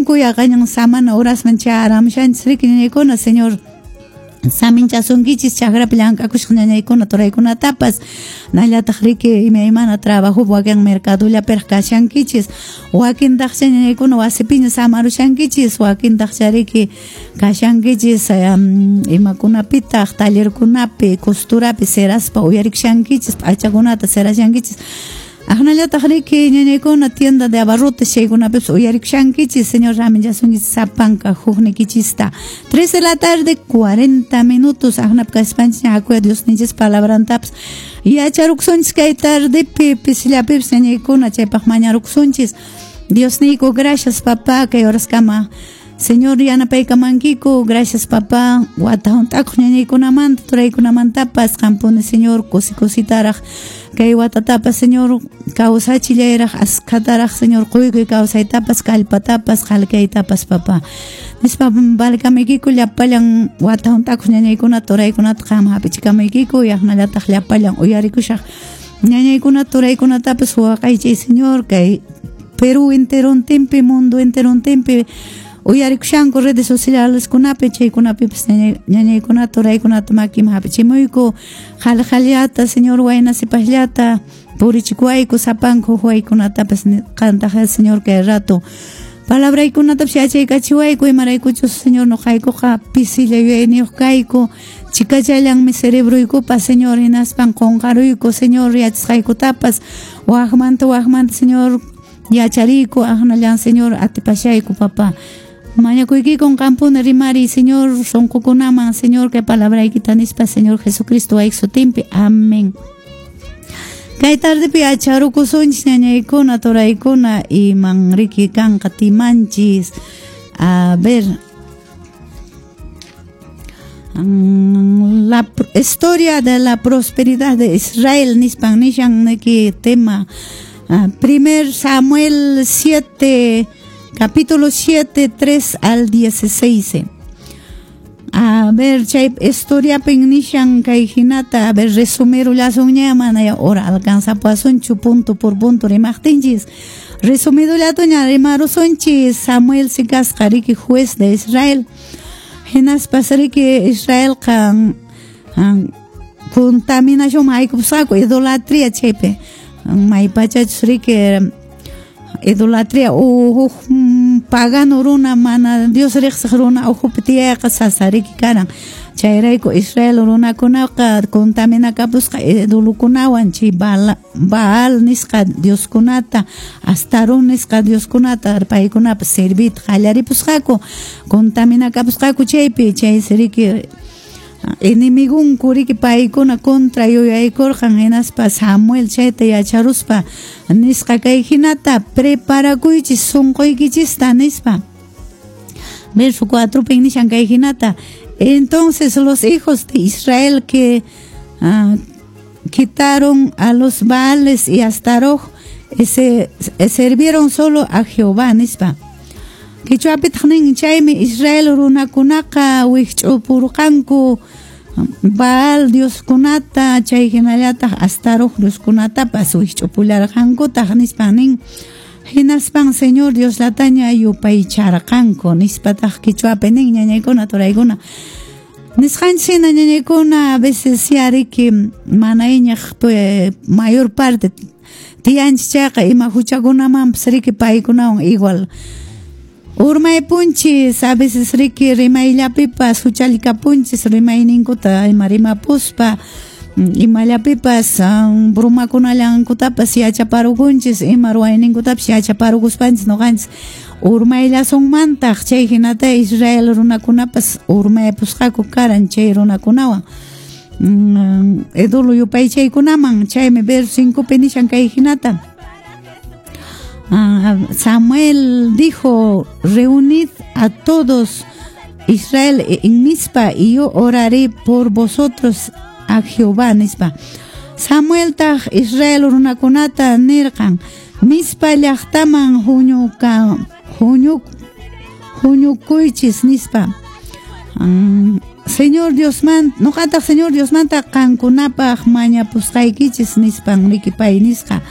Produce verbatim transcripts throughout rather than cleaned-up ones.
Kashanku yaqañan samana horasman chayaramushanchis riki ñañaykuna, Señor saminchasunkichis chakrapi llank'akushaq ñañaykuna turaykunatapas nallataq riki imaymana trabajo wakin mercadollapiraq kashankichis wakintaqcha ñañaykuna wasipiña samarushankichis wakintaqcha riki kashankichis um, imakunapitaq tallerkunapi costurapi seraspa uyarikushankichis p'achakunata serashankichis Aqnallataq riki ñañaykuna tienda de abarrotes chaykunapipis uyarikushankichis, Señor saminchasunkichis sapanka huknikichista. tres de la tarde, cuarenta minutos, aqnapi kaspanchis hakuya Diosninchis palabrantapas yacharukusunchis kay tardepi pisillapipis ñañaykuna chaypaq mañarukusunchis. Diosniyku, gracias papá, kay horaskama Señor yanapaykamankiku, gracias papá, wata hunt'akuq ñañaykunamanta turaykunamantapas qampuni Señor kusi kusitaraq kay watatapas Señor kawsachillayraq askhataraq Señor quykuy kawsaytapas kallpatapas qalkaytapas papá nispa valkamaykiku llapallan wata hunt'akuq ñañaykuna turaykunata qam hap'ichikamaykiku yaqnallataq llapallan uyarikushaq ñañaykuna turaykunatapas waqaychay Señor kay Perú enterontinpi mundo enterontinpi uyarikushanku redes sociales kunapi chaykunapipis ñañaykunata turaykunata makiman hap'ichimuyku qhali-qhalillata Señor wayna sipasllata purichikuwayku sapanku huwaykunatapas qantaq Señor kay rato palabraykunatapas yachaykachiwayku imaraykuchus Señor nuqaykuqa pisilla yuyayniyuq kayku chikachallanmi cerebroykupas Señor hinaspan qunqaruyku Señor yachasqaykutapas waqmanta waqmanta Señor yachariyku aqnallan Señor atipashayku papá mañakuykikun qampuni rimariy Señor sunqukunaman Señor kay palabraykita nispa Señor Jesucristo wayki sutinpi amén. Kay tardepi yacharukusunchis ñañaykuna turaykuna iman riki kanqa timanchis. A ver, la historia de la prosperidad de Israel nispan nishan niki tema. Primer Samuel siete, capítulo siete, tres al dieciséis. A ver, chay historia nishan kay hinata, a ver, resumirullasunña mana ya hora alcanzapuasunchu punto por punto rimaqtinchis. Resumidullatuña rimarusunchis Samuel sikasqa riki juez de Israel. Hinaspas riki Israelqa contaminación haykupusqaku idolatría chaypi. Maypachachus riki idolatría huk pagano runa mana Dios riqsiq runa ukhupi tiyayqa sasa riki karan. Chayrayku Israel runakunaqa contaminakapusqa idolokunawan chay Baal nisqa dioskunata Astarón nisqa dioskunata paykunapas servita qallaripusqaku contaminakapusqaku chaypi chaysi riki enemigunku riki paykuna contra yuyaykurqan hinaspa Samuel chayta yacharuspa nisqa kay hinata preparakuychis sunquykichista nispa. Verso cuatro nishan kay hinata. Entonces los hijos de Israel que uh, quitaron a los Baales y Astarot se, sirvieron solo a Jehová nispa. Qichwapitaq nin chaymi Israel runakunaqa wikch'upurqanku Baal dioskunata chay hinallataq Astarot dioskunatapas wikch'upullarqankutaq nispa nin. Hinaspan Señor Diosllataña yupaycharqanku nispataq qichwapi nin ñañaykuna turaykuna. Nisqanchis hina ñañaykuna a veces ya riki mana iñaq mayor parte tiyanchis chayqa ima huchakunamanpas riki paykunawan igual urmaypunchis a veces riki rimayllapipas huchallikapunchis rimayninkuta ima rimapuspa imallapipas bromakunallankutapas yachaparukunchis ima ruwayninkutapas yachaparukuspanchis nuqanchis urmayllasunmantaq chay hinata Israel runakunapas urmaypusqaku karan chay runakunawan ídolo yupaychaykunaman chaymi verso cincopi nishan kay hinata. Samuel dijo, reunid a todos Israel en Mizpa y yo oraré por vosotros a Jehová nispa. Samuel taq Israel runakunata nirqan Mizpa llaqtaman huñuka huñu huñukuychis nispa. Um, Señor Diosman nuqataq Señor Diosmanta qankunapaq mañapusqaykichis nispan riki pay nisqa.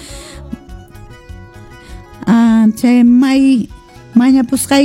Ah, chay may mañapusqay